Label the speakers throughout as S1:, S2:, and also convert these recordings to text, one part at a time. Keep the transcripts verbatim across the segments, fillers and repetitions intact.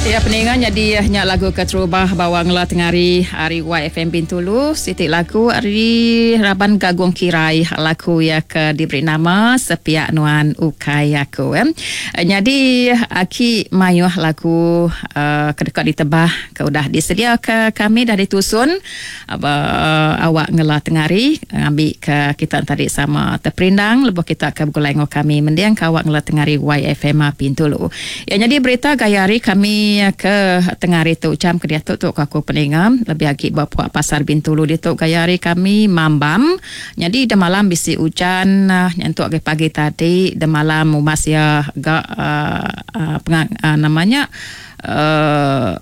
S1: Ya peninga jadi nya lagu keterubah bawa ngela tengari hari Y F M Bintulu siti lagu ari Raban Gagung Kirai lagu ya ke diberi nama Sepiak Nuan Ukai Aku eh. Jadi aki mayuh lagu uh, ke dekat ditebah ke udah disedia ke kami dah ditusun uh, awak ngela tengari ngambil ke kita tadi sama terperindang lebuh kita ke begulai ngau kami mendiang ke awak ngela tengari Y F M Bintulu. Ya jadi berita gaya hari kami ke tengah hari tu jam ke dia tu tu aku peninga lebih agi bawa pasar Bintulu dia tu gaya hari kami mambam. Jadi de malam bisi hujan nyentuk ke pagi tadi de malam umas ya gak uh, uh, pengang, uh, namanya uh,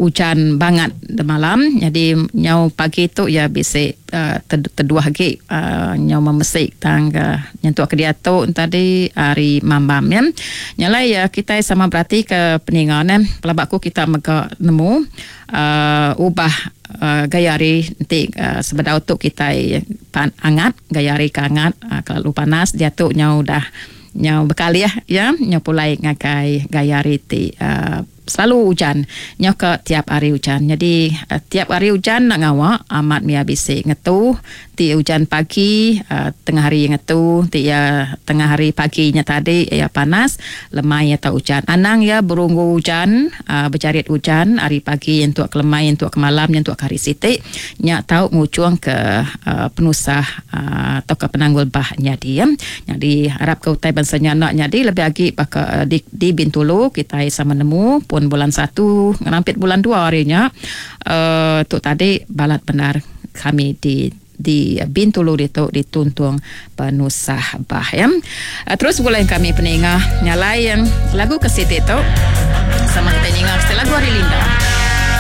S1: hujan banget de malam. Jadi nyau pagi tu ya bisi uh, teduh lagi uh, nyau memesik tangga nyentuk ke dia tu tadi hari mambam ya. Nyalai ya kita sama berarti ke peningan eh pelabakku kita mega nemu uh, ubah uh, gaya hari nanti uh, sebedau tu kita pan, angat gaya hari ke angat uh, kalau panas dia tu nyau dah nyau bekali ya ya nyau pulai ngagai gaya hari ti uh, selalu hujan nyau ke tiap hari hujan. Jadi uh, tiap hari hujan nak ngawak amat mia bisi ngetu ti hujan pagi uh, tengah hari ngetu ti ya tengah hari paginya tadi ya panas lemai atau hujan. Anang ya berunggu hujan uh, berjarit hujan hari pagi untuk ke lemai untuk ke malam untuk ke hari siti nyak tau ngucuang ke uh, penusah uh, atau ke penanggul bah nyadi ya. Jadi harap ke utai bangsa nak nyadi lebih agi baka uh, di, di Bintulu kita sama nemu pun bulan satu ngerampit bulan dua harinya uh, tu tadi balat benar kami di di Bintulu itu dituntung penusah bah ya. Uh, terus bulan kami peningah nyalai yang lagu ke siti tu sama